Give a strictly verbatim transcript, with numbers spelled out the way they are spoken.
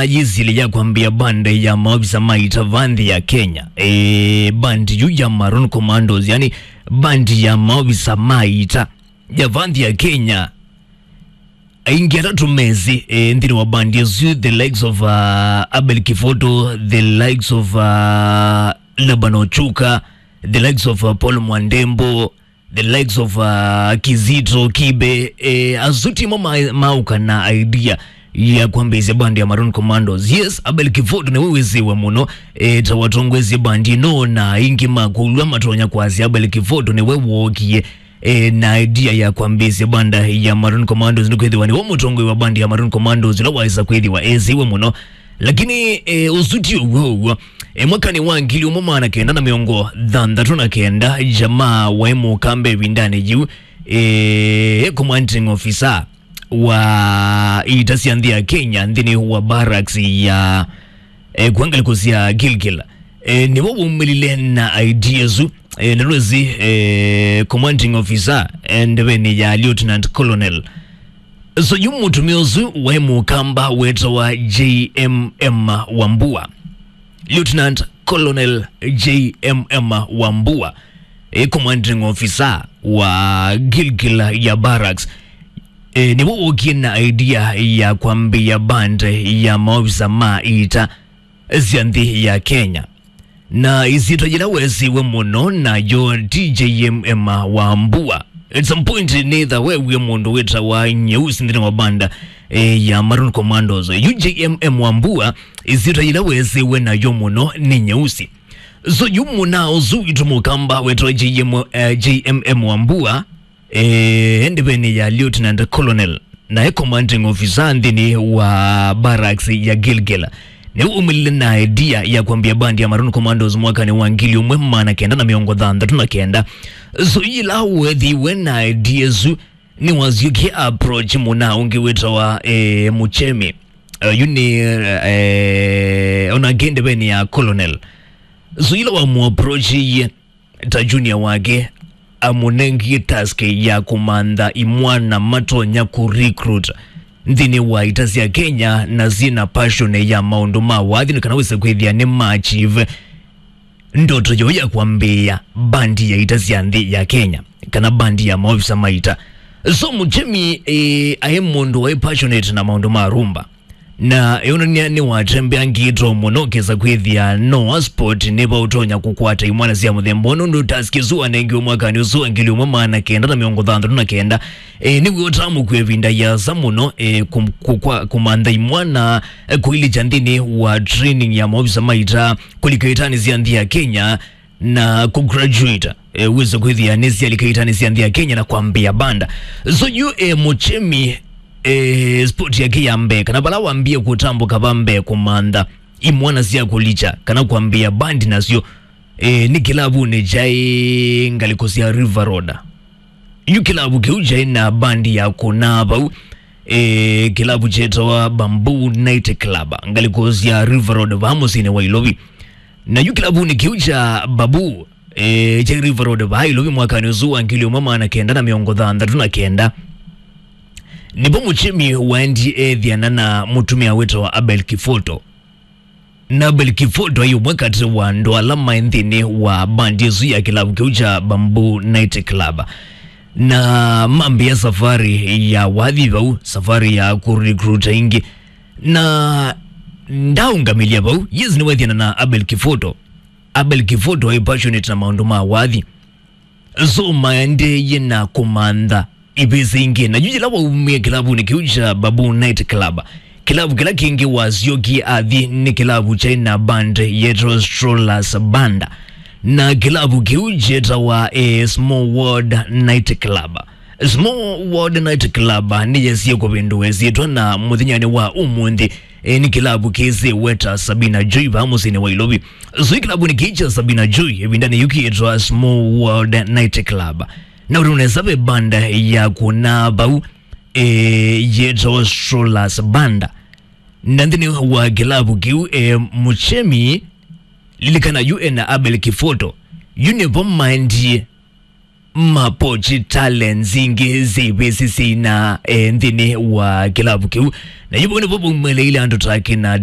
yĩsilya ya kwambĩa band ya maovisa ma ita va nthĩ ya Kenya. E, band yu ya Maroon Commandos, yani band ya maovisa ma ita ya va nthĩ ya Kenya. Aingĩ atatũ mesĩ, e, nthĩnĩ wa band ĩsu, the likes of, uh, Abel Kifoto, the likes of, uh, Laban Ochuka, the likes of, uh, Paul Mwandembo, the likes of, uh, Kizito Kibe, eh, asu timo ma-, maũka na idea ya kwambĩĩsya band ya Maroon Commandos. Yes, Abel Kifoto nĩwe wĩsĩwe mũno, eh, ta watongoesye band ĩno, na aingĩ makũlw'a matonya kwasya Abel Kifoto nĩwe wookie, eh, na idea ya kwambĩĩsya band ya Maroon Commandos, nĩkwĩthĩwa nĩwe mũtongoi wa band ya Maroon Commandos, ũla waĩsa kwĩthĩwa esĩwe mũno. Lakini, eh, ũsu ti ũw'o ũw'o. E, mwakanĩ wa ngili ũmwe maana kenda na mĩongo thanthatũ na kenda, jamaa waĩ mũkamba ĩvindanĩ yĩu, e, commanding officer wa ita sya nthĩ ya Kenya nthĩnĩ wa barracks ya, e, kwa ngalĩko sya Gilgil. E, nĩwe waumĩlile na idea ĩsu, e, na rwĩsĩ, e, commanding officer, e, ndevenĩ ya Lieutenant Colonel. So yu mũtumĩa ũsu waĩ mũkamba wetawa J M M Wambua. Lieutenant Colonel J M M Wambua, e, commanding officer wa Gilgil ya barracks, e, nĩwe wookie na idea ya kwambĩĩa band ya maovisa ma ita sya nthĩ ya Kenya. Na ĩsyĩtwa yĩla wesĩwe mũno nayo ti J M M Wambua. At some point nĩtha wewie mũndũ wĩtawa Nyeusi nthĩnĩ wa band, eh, ya Maroon Commandos. Yu J M M Wambua, ĩsyĩtwa yĩla wesĩwe nayo mũno nĩ Nyeusi. So yu mũna ũsu witũ mũkamba wetawa J M, eh, J M M Wambua, eh, ndevenĩ ya Lieutenant Colonel, nae commanding officer nthĩnĩ wa barracks ya Gilgil. Nĩwe waumĩlile na idea ya kwambĩĩa band ya Maroon Commandos mwakanĩ wa ngili ũmwe maana kenda na mĩongo thanthatũ na kenda. So yĩla weethĩiwe na idea ĩsu, nĩwasyokie approach mũna ũngĩ wĩtawa, eh, Muchemi. Eh, yu nĩ, eh, onake ndevenĩ ya Colonel. So yĩla wamũapproachiie, ta junior wake, amũnengie task ya kũmantha imwana matonya kũ recruit nthĩnĩ wa ita sya Kenya na syĩna passion ya maũndũ ma wathi, nĩ kana wĩse kwĩthĩa nĩ ma achieve ndoto yoo ya kwambĩĩa bandi ya ita sya nthĩ ya Kenya, kana bandi ya maovisa ma ita. So Muchemi, eh, aĩ mũndũ waĩ passionate na maũndũ ma rumba. Na eonania nĩwatembeangĩtwe mũno kesa kwĩthĩa no sport nĩva ũtonya kũkwata imwana sya mũthemba ũũ, nũndũ task ĩsu wanengiwe mwakanĩ ũsu wa ngili ũmwe maana kenda na mĩongo thanthatũ na kenda. E, nĩw'o ũtamũkw'a ĩvinda yĩasa mũno, e, kũ-, kũkwa-, kũmantha imwana, e, kũilikya nthĩnĩ wa training ya maovisa ma ita kũlika itanĩ sya nthĩ ya Kenya, na kũgraduate, eh, wĩse kwĩthĩa nĩsyalika itanĩ sya nthĩ ya Kenya na kwambĩĩa banda. So yu, eh, Muchemi, eh, sport yake ya mbee, kana vala wambie kũtambũka va mbee kũmantha imwana sya kũlikya kana kwambĩĩa bandi nasyo, eh, nĩ kĩlavunĩ kyaĩ ngalĩko sya River Road. Yu kĩlavu kĩu kyaĩ na bandi ya kũnaa vau, e, kĩlavu kyetawa Bamboo Night Club, ngalĩko sya River Road vaa mũsyĩnĩ wa Ilovi. Na yu kĩlavunĩ kĩu kya Bamboo, e, kya River Road vaa Ilovi mwakanĩ ũsu wa ngili ũmwe maana kenda na mĩongo thanthatũ na kenda, nĩvo Muchemi waendie eethĩana na mũtumĩa wĩtawa Abel Kifoto. Na Abel Kifoto aĩ ũmwe katĩ wa andũ ala maĩ nthĩnĩ wa bandi ĩsu ya kĩlavu kĩu kya Bamboo Night Club. Na mambĩĩa safari ya wathi vau, safari ya kũrecruit aingĩ. Na ndaũngamĩlya vau, yes, nĩweethĩana na Abel Kifoto. Abel Kifoto aĩ passionate na maũndũ ma wathi. So maendeeie na kũmantha ivĩsĩ ingĩ. Na yu yĩla waumie kĩlavunĩ kĩu kya Bamboo Night Club, kĩlavu kĩla kĩngĩ wasyokie athi nĩ kĩlavu kyaĩ na band yetawa Strollers Banda. Na kĩlavu kĩu kyetawa, eh, Small World Night Club. Small World Night Club nĩyesie kũvĩndũa ĩsyĩtwa na mũthenyanĩ wa ũmũnthĩ, e, nĩ kĩlavu kĩsĩwe ta Sabina Joy vaa mũsyĩnĩ wa Ilovi. So ĩ kĩlavunĩ kĩĩ kya Sabina Joy, ĩvindanĩ yĩu kĩĩtwa Small World Night Club. Na ũndũ nesa ve banda ya kũnaa vau, e, yĩtawa Strollers Banda. Na nthĩnĩ wa kĩlavu kĩu, e, Muchemi, lilikana yu ena Abel Kifoto. Yu nĩvo maendie Mapochi talents ingĩ syĩvĩsĩ syĩina, eh, nthĩnĩ wa kĩlavu kĩu. Na yu vau nĩvo vaumĩlĩile andũ ta kĩna